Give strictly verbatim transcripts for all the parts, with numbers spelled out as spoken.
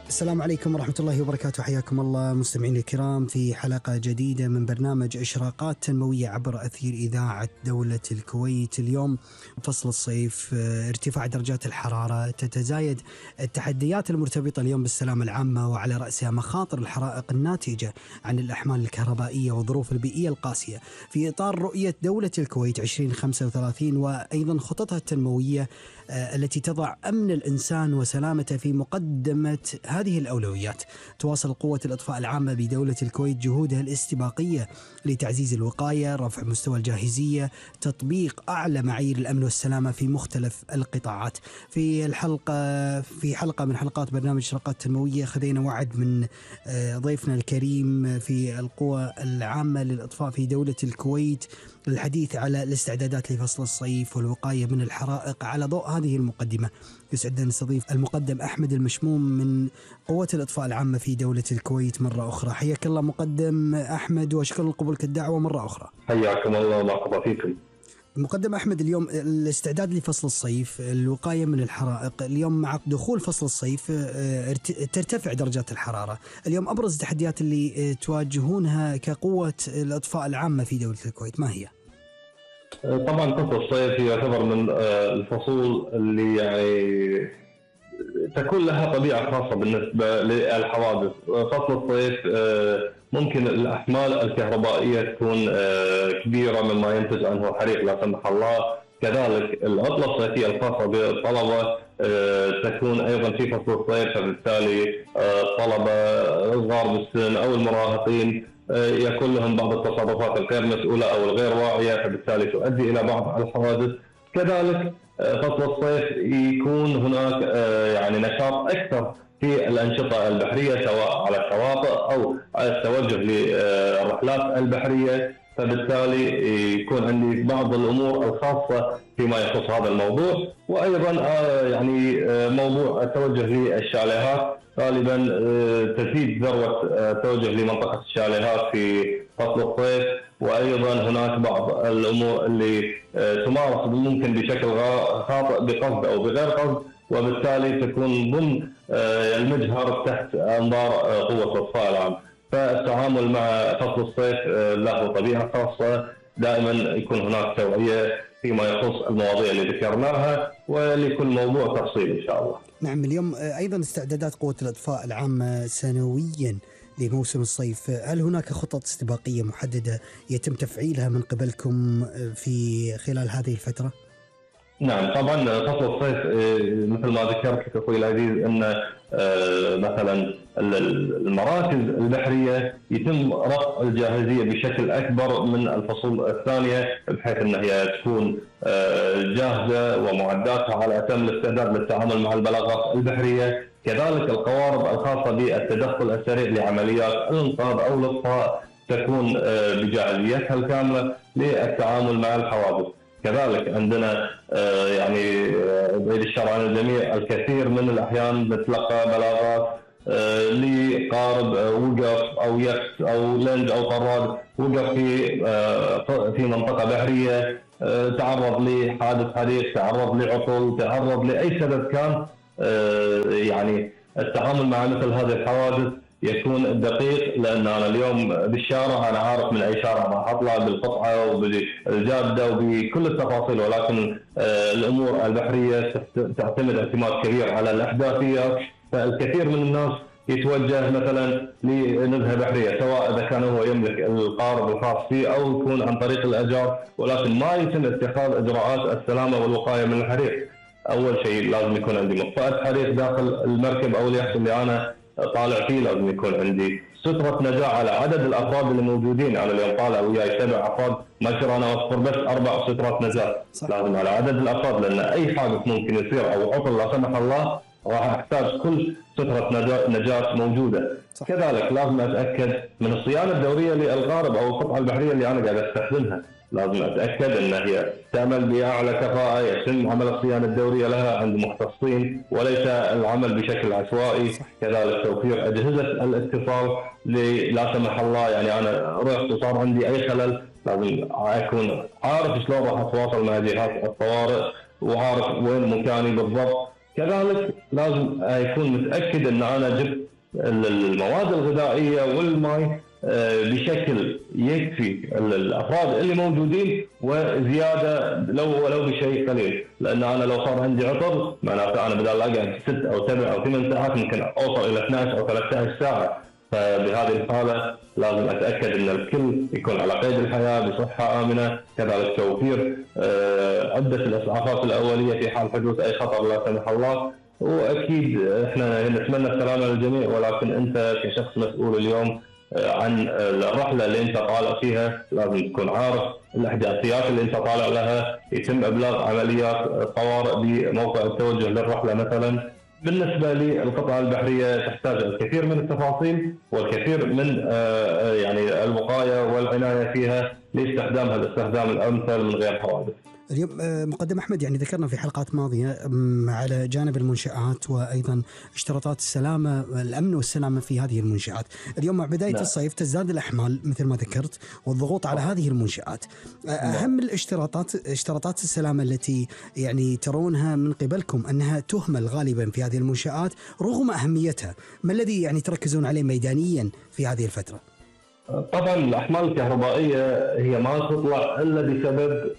السلام عليكم ورحمة الله وبركاته. حياكم الله مستمعين الكرام في حلقة جديدة من برنامج إشراقات تنموية عبر أثير إذاعة دولة الكويت. اليوم فصل الصيف، ارتفاع درجات الحرارة، تتزايد التحديات المرتبطة اليوم بالسلامة العامة، وعلى رأسها مخاطر الحرائق الناتجة عن الأحمال الكهربائية والظروف البيئية القاسية. في إطار رؤية دولة الكويت عشرين خمسة وثلاثين وأيضا خططها التنموية التي تضع أمن الإنسان وسلامته في مقدمة هذه الأولويات، تواصل قوة الإطفاء العامة بدولة الكويت جهودها الاستباقية لتعزيز الوقاية، رفع مستوى الجاهزية، تطبيق أعلى معايير الأمن والسلامة في مختلف القطاعات. في الحلقة في حلقة من حلقات برنامج إشراقات تنموية خذينا وعد من ضيفنا الكريم في القوى العامة للإطفاء في دولة الكويت للحديث على الاستعدادات لفصل الصيف والوقاية من الحرائق. على ضوء هذه المقدمة يسعدنا نستضيف المقدم أحمد المشموم من قوة الإطفاء العامة في دولة الكويت مرة أخرى. حياك الله مقدم أحمد، وأشكر لقبولك الدعوة مرة أخرى. حياكم الله ومرحبا فيكم. مقدم أحمد، اليوم الاستعداد لفصل الصيف، الوقاية من الحرائق. اليوم مع دخول فصل الصيف ترتفع درجات الحرارة. اليوم أبرز التحديات اللي تواجهونها كقوة الإطفاء العامة في دولة الكويت ما هي؟ طبعا فصل الصيف يعتبر من الفصول اللي يعني تكون لها طبيعة خاصة بالنسبة للحوادث. فصل الصيف ممكن الأحمال الكهربائية تكون كبيرة مما ينتج عنه حريق لا سمح الله. كذلك العطلة الصيفية الخاصة بالطلبة تكون أيضا في فصل الصيف، فبالتالي الطلبة صغار بالسن أو المراهقين يكون لهم بعض التصرفات الغير مسؤولة أو الغير واعية، فبالتالي تؤدي إلى بعض الحوادث. كذلك فصل الصيف يكون هناك يعني نشاط أكثر في الأنشطة البحرية سواء على الشواطئ أو التوجه للرحلات البحرية، فبالتالي يكون عندي بعض الأمور الخاصة فيما يخص هذا الموضوع. وأيضا يعني موضوع التوجه للشاليهات، غالبا تزيد ذروة التوجه لمنطقة الشاليهات في فصل الصيف. وأيضا هناك بعض الأمور اللي تمارس ممكن بشكل خاطئ بقصد أو بغير قصد، وبالتالي تكون ضمن المجهر تحت أنظار قوة الإطفاء العام. فالتعامل مع فصل الصيف له طبيعة خاصة، دائما يكون هناك توعية فيما يخص المواضيع اللي ذكرناها، ولكل موضوع تفصيل إن شاء الله. نعم، اليوم أيضا استعدادات قوة الإطفاء العامة سنويا لموسم الصيف، هل هناك خطط استباقية محددة يتم تفعيلها من قبلكم في خلال هذه الفترة؟ نعم طبعا فصل الصيف مثل ما ذكرت لك اخوي العزيز ان مثلا المراكز البحريه يتم رفع الجاهزيه بشكل اكبر من الفصول الثانيه، بحيث ان هي تكون جاهزه ومعداتها على اتم الاستعداد للتعامل مع البلاغات البحريه. كذلك القوارب الخاصه بالتدخل السريع لعمليات الانقاذ او الاطفاء تكون بجاهزيتها الكامله للتعامل مع الحوادث. كذلك عندنا يعني بعيد الشر عن الجميع الكثير من الأحيان نتلقى بلاغات لقارب وقف أو يخت أو لنج أو طراد وقف في في منطقة بحرية، تعرض لحادث حريق، تعرض لعطل، تعرض لأي سبب كان. يعني التعامل مع مثل هذه الحوادث يكون دقيق، لأن أنا اليوم بالشارع أنا عارف من أي شارع راح أطلع بالقطعة وبالجادة وبكل التفاصيل، ولكن الأمور البحرية تعتمد اعتماد كبير على الأحداثيات. فالكثير من الناس يتوجه مثلا لنزهة بحرية، سواء إذا كان هو يملك القارب الخاص فيه أو يكون عن طريق الأجار، ولكن ما يتم اتخاذ إجراءات السلامة والوقاية من الحريق. أول شيء لازم يكون عندي مطفأة حريق داخل المركب أو اليخت اللي أنا طالع فيه، لازم يكون عندي سترة نجاة على عدد الأفراد اللي موجودين. أنا اليوم طالع وياي سبع أفراد، ما يصير أنا أوفر بس أربع سترات نجاة، لازم على عدد الأفراد، لأن أي حادث ممكن يصير أو عطل لا سمح الله راح أحتاج كل سترة نجاة موجودة. صح. كذلك لازم أتأكد من الصيانة الدورية للقارب أو القطعة البحرية اللي أنا قاعد أستخدمها، لازم أتأكد أن هي تعمل بأعلى كفاءة، يتم عمل الصيانة الدورية لها عند مختصين وليس العمل بشكل عشوائي. كذلك توفير أجهزة الاتصال لا سمح الله، يعني أنا رحت وصار عندي أي خلل لازم أكون عارف شلون راح أتواصل مع جهات الطوارئ وعارف وين مكاني بالضبط. كذلك لازم يكون متاكد ان انا جبت المواد الغذائيه والماء بشكل يكفي الافراد اللي موجودين وزياده لو ولو بشيء قليل، لان انا لو صار عندي عطر معناته انا بدل اقعد ست او سبع او ثمان ساعات ممكن اوصل الى اثنعش او ثلاثة عشر ساعه. فبهذه الحاله لازم اتاكد ان الكل يكون على قيد الحياه بصحه امنه، كذلك توفير عده الاسعافات الاوليه في حال حدوث اي خطر لا سمح الله. واكيد احنا نتمنى السلامه للجميع، ولكن انت كشخص مسؤول اليوم عن الرحله اللي انت طالع فيها لازم تكون عارف الاحداثيات اللي انت طالع لها، يتم ابلاغ عمليات طوارئ بموقع التوجه للرحله مثلا. بالنسبه للقطاع البحريه تحتاج الكثير من التفاصيل والكثير من يعني الوقايه والعنايه فيها لاستخدامها الاستخدام الامثل من غير حوادث. اليوم مقدم أحمد يعني ذكرنا في حلقات ماضية على جانب المنشآت وأيضا اشتراطات السلامة الأمن والسلامة في هذه المنشآت. اليوم مع بداية لا. الصيف تزداد الأحمال مثل ما ذكرت والضغوط على هذه المنشآت. أهم الاشتراطات اشتراطات السلامة التي يعني ترونها من قبلكم أنها تهمل غالبا في هذه المنشآت رغم أهميتها، ما الذي يعني تركزون عليه ميدانيا في هذه الفترة؟ طبعا الأحمال الكهربائية هي ما تطلع إلا بسبب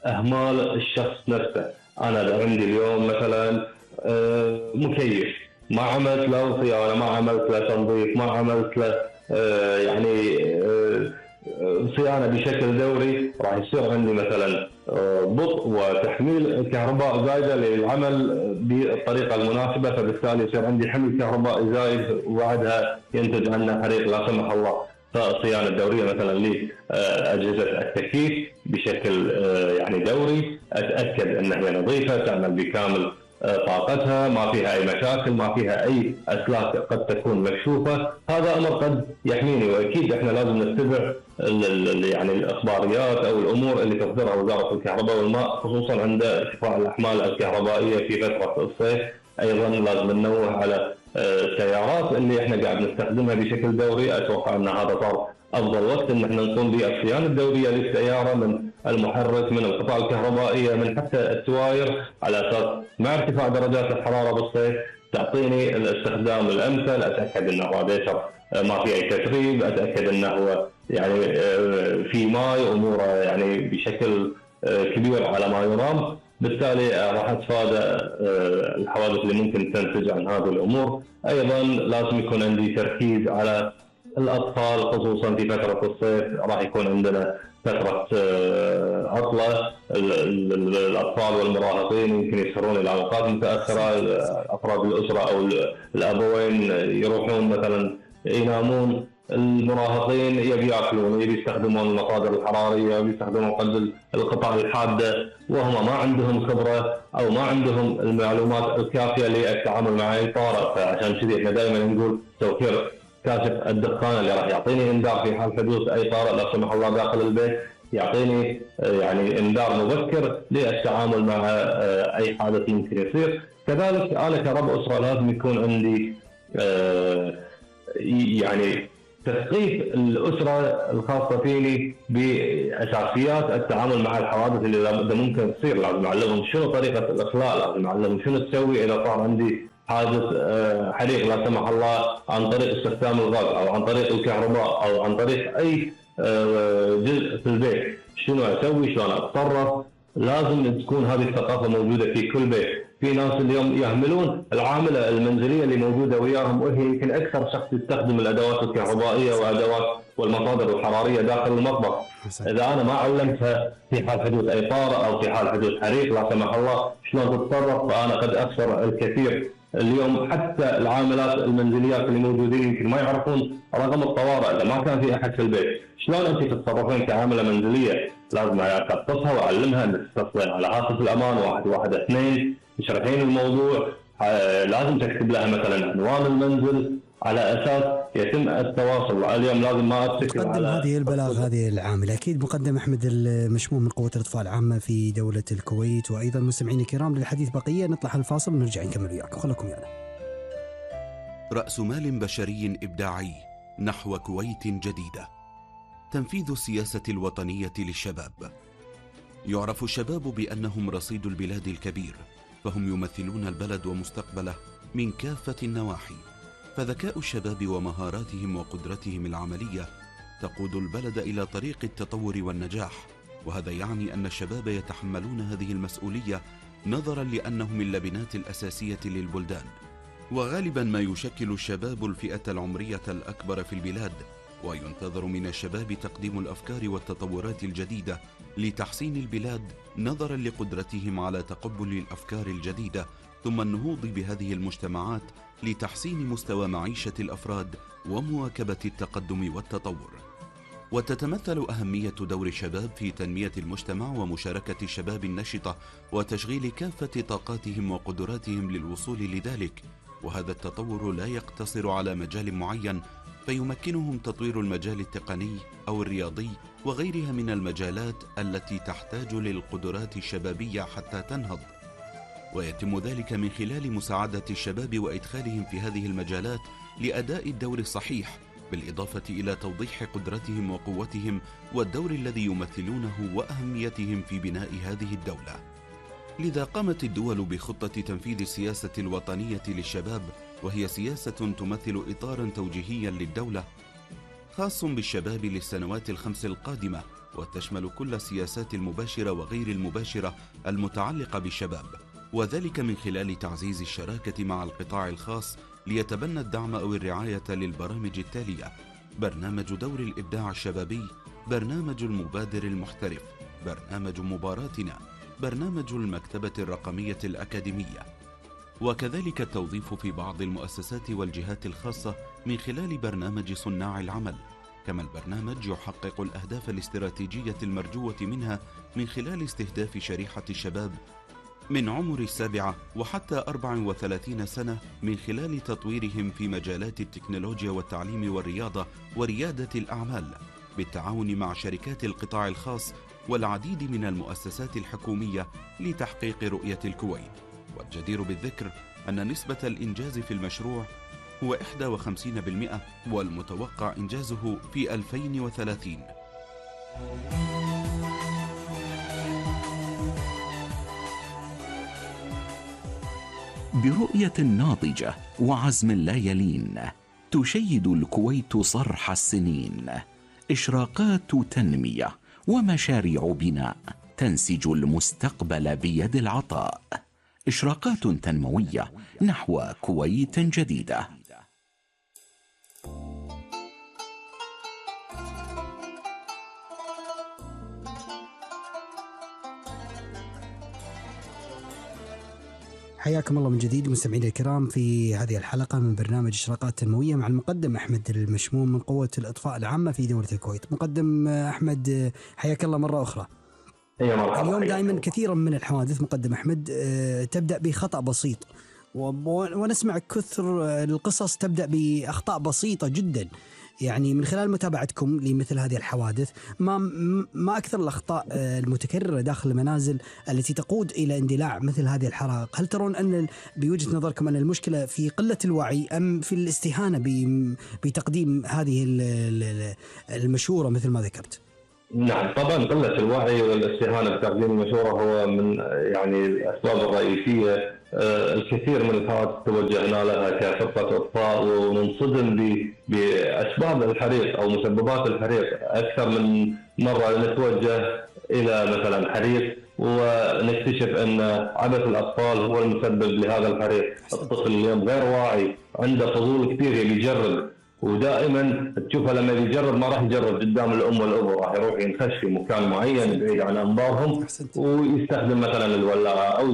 أهمال الشخص نفسه. أنا عندي اليوم مثلا مكيف ما عملت له صيانة، ما عملت له تنظيف، ما عملت له يعني صيانة بشكل دوري، راح يصير عندي مثلا بطء وتحميل كهرباء زايدة للعمل بالطريقة المناسبة، فبالتالي يصير عندي حمل كهرباء زايد وبعدها ينتج عنه حريق لا سمح الله. فالصيانة الدورية مثلا لأجهزة التكييف بشكل يعني دوري، أتأكد أنها هي نظيفة تعمل بكامل طاقتها، ما فيها أي مشاكل، ما فيها أي أسلاك قد تكون مكشوفة. هذا أمر قد يحميني، وأكيد إحنا لازم نتبع يعني الإخباريات أو الأمور اللي تصدرها وزارة الكهرباء والماء، خصوصا عند ارتفاع الأحمال الكهربائية في فترة الصيف. أيضا لازم ننوه على السيارات اللي إحنا قاعد نستخدمها بشكل دوري. أتوقع أن هذا صار أفضل وقت إن إحنا نقوم بالصيانة الدورية للسيارة، من المحرك، من القطع الكهربائية، من حتى التواير، على أساس مع ارتفاع درجات الحرارة بالصيف تعطيني الاستخدام الأمثل. أتأكد أن الراديتر ما في أي تسريب، أتأكد أنه هو يعني في ماء أموره يعني بشكل كبير على ما يرام، بالتالي راح أتفادى الحوادث اللي ممكن تنتج عن هذه الأمور. أيضا لازم يكون عندي تركيز على الأطفال، خصوصا في فترة الصيف راح يكون عندنا فترة عطلة، الأطفال والمراهقين يمكن يسهرون إلى أوقات متأخرة، أفراد الأسرة أو الأبوين يروحون مثلا ينامون، المراهقين يبي ياكلون، يبي يستخدمون المصادر الحرارية، يبي يستخدمون قلب القطع الحادة، وهم ما عندهم خبرة أو ما عندهم المعلومات الكافية للتعامل مع أي طارئ. فعشان كذي احنا دائما نقول توفير كاشف الدخان اللي راح يعطيني انذار في حال حدوث اي طارئ لا سمح الله داخل البيت، يعطيني يعني انذار مبكر للتعامل مع اي حادث ممكن يصير. كذلك انا كرب اسره لازم يكون عندي يعني تثقيف الاسره الخاصه فيني باساسيات التعامل مع الحوادث اللي ممكن تصير. لازم اعلمهم شنو طريقه الاخلاء، لازم اعلمهم شنو تسوي اذا صار عندي حادث حريق لا سمح الله عن طريق استخدام الغاز او عن طريق الكهرباء او عن طريق اي جزء في البيت، شنو اسوي، شلون اتصرف. لازم تكون هذه الثقافه موجوده في كل بيت. في ناس اليوم يهملون العامله المنزليه اللي موجوده وياهم، وهي يمكن اكثر شخص يستخدم الادوات الكهربائيه وادوات والمصادر الحراريه داخل المطبخ. اذا انا ما علمتها في حال حدوث اي طارئ او في حال حدوث حريق لا سمح الله شلون تتصرف، فانا قد اخسر الكثير. اليوم حتى العاملات المنزليات اللي موجودين يمكن ما يعرفون رقم الطوارئ اذا ما كان في احد في البيت. شلون انت تتصرفين كعامله منزليه؟ لازم اثقفها واعلمها ان تتصلين على هاتف الامان واحد واحد اثنين، تشرحين الموضوع، لازم تكتب لها مثلا عنوان المنزل على اساس يتم التواصل. اليوم لازم ما اتكل على هذه البلاغ هذه العامله. اكيد مقدم احمد المشموم من قوه الاطفاء العامه في دوله الكويت. وايضا مستمعينا الكرام للحديث بقيه، نطلع الفاصل ونرجع نكمل وياكم، خليكم ويانا. راس مال بشري ابداعي نحو كويت جديده، تنفيذ السياسه الوطنيه للشباب. يعرف الشباب بانهم رصيد البلاد الكبير، فهم يمثلون البلد ومستقبله من كافة النواحي. فذكاء الشباب ومهاراتهم وقدرتهم العملية تقود البلد إلى طريق التطور والنجاح، وهذا يعني أن الشباب يتحملون هذه المسؤولية نظرا لأنهم اللبنات الأساسية للبلدان. وغالبا ما يشكل الشباب الفئة العمرية الأكبر في البلاد، وينتظر من الشباب تقديم الأفكار والتطورات الجديدة لتحسين البلاد نظرا لقدرتهم على تقبل الأفكار الجديدة، ثم النهوض بهذه المجتمعات لتحسين مستوى معيشة الأفراد ومواكبة التقدم والتطور. وتتمثل أهمية دور الشباب في تنمية المجتمع ومشاركة الشباب النشطة وتشغيل كافة طاقاتهم وقدراتهم للوصول لذلك، وهذا التطور لا يقتصر على مجال معين، فيمكنهم تطوير المجال التقني أو الرياضي وغيرها من المجالات التي تحتاج للقدرات الشبابية حتى تنهض، ويتم ذلك من خلال مساعدة الشباب وإدخالهم في هذه المجالات لأداء الدور الصحيح، بالإضافة إلى توضيح قدرتهم وقوتهم والدور الذي يمثلونه وأهميتهم في بناء هذه الدولة. لذا قامت الدول بخطة تنفيذ السياسة الوطنية للشباب، وهي سياسة تمثل إطارا توجيهيا للدولة خاص بالشباب للسنوات الخمس القادمة، وتشمل كل السياسات المباشرة وغير المباشرة المتعلقة بالشباب، وذلك من خلال تعزيز الشراكة مع القطاع الخاص ليتبنى الدعم أو الرعاية للبرامج التالية: برنامج دور الإبداع الشبابي، برنامج المبادر المحترف، برنامج مباراتنا، برنامج المكتبة الرقمية الأكاديمية، وكذلك التوظيف في بعض المؤسسات والجهات الخاصة من خلال برنامج صناع العمل. كما البرنامج يحقق الأهداف الاستراتيجية المرجوة منها من خلال استهداف شريحة الشباب من عمر السابعة وحتى أربع وثلاثين سنة من خلال تطويرهم في مجالات التكنولوجيا والتعليم والرياضة وريادة الأعمال، بالتعاون مع شركات القطاع الخاص والعديد من المؤسسات الحكومية لتحقيق رؤية الكويت. والجدير بالذكر أن نسبة الإنجاز في المشروع هو واحد وخمسين بالمئة، والمتوقع إنجازه في ألفين وثلاثين. برؤية ناضجة وعزم لا يلين تشيد الكويت صرح السنين، إشراقات تنمية ومشاريع بناء تنسج المستقبل بيد العطاء، إشراقات تنموية نحو كويت جديدة. حياكم الله من جديد مستمعينا الكرام في هذه الحلقة من برنامج إشراقات تنموية مع المقدم أحمد المشموم من قوة الإطفاء العامة في دولة الكويت. مقدم أحمد حياك الله مرة أخرى. اليوم دائما كثيرا من الحوادث مقدم أحمد تبدأ بخطأ بسيط، ونسمع كثر القصص تبدأ بأخطاء بسيطة جدا. يعني من خلال متابعتكم لمثل هذه الحوادث ما ما أكثر الأخطاء المتكررة داخل المنازل التي تقود إلى اندلاع مثل هذه الحرائق؟ هل ترون أن بوجهة نظركم أن المشكلة في قلة الوعي أم في الاستهانة بتقديم هذه المشورة مثل ما ذكرت؟ نعم طبعا قلة الوعي والاستهانة بتقديم المشورة هو من يعني الأسباب الرئيسية. الكثير من الحوادث توجهنا لها كفرقة إطفاء وننصدم بأسباب الحريق أو مسببات الحريق أكثر من مرة. نتوجه إلى مثلا حريق ونكتشف أن عبث الأطفال هو المسبب لهذا الحريق. الطفل اليوم غير واعي، عنده فضول كثير يبي يجرب، ودائما تشوفه لما يجرب ما راح يجرب قدام الام والابو، راح يروح ينخش في مكان معين بعيد عن انظارهم ويستخدم مثلا الولاعه او